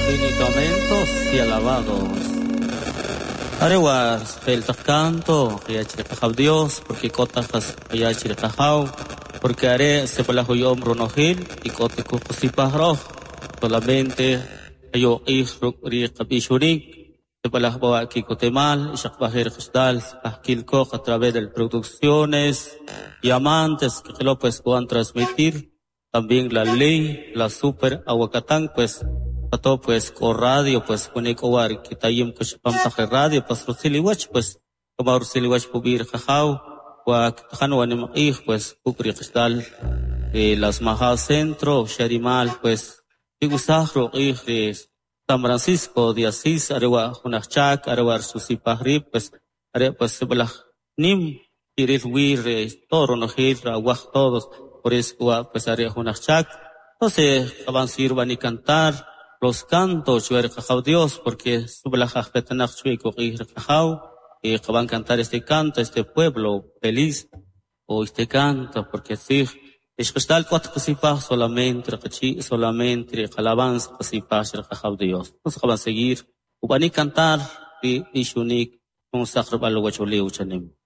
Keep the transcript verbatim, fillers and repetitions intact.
Infinitamente y alabados. Arewa el canto, Qajaw Dios, porque k'o taj jas qaya che ri Qajaw, porque are sib'alaj uya'om ronojel y k'o ta kujsipaj roj, solamente qayo q'ij ruk' ri qab'ixonik, sib'alaj b'a ki'kotemal, xaq b'ajir qixdal ajkilkoq a través de producciones y amantes que lo pues puedan transmitir también la ley, la super aguacatán, pues todo pues con radio, pues con war kitayim kushpam radio, pues rusiliwach, pues como rusiliwach pubir qajaw, wa ktajan wa nimq'ij, pues kukri qixdal eh, las Majas Centro, Sharimal, pues tigusaj roq'ij de San Francisco de Asís, arewa junachak, arewa susipajri, pues are pues sib'alaj nim kiril wir todo ronojel rawaj todos, por eso pues are junachak. Entonces, qaban sirvan y cantar los cantos chuer Qajaw Dios, porque sib'alaj ajpetanaq chui kuq'ij Qajaw, y qaban cantar este canto, este pueblo feliz, o este canto, porque sí, Ixqixtal k'ot qasipaj solamente qachi solamente alabanza qasipaj Qajaw Dios. Entonces qaban seguir ub'anik cantar ri b'ixonik jun saq rb'al wachulew chanim.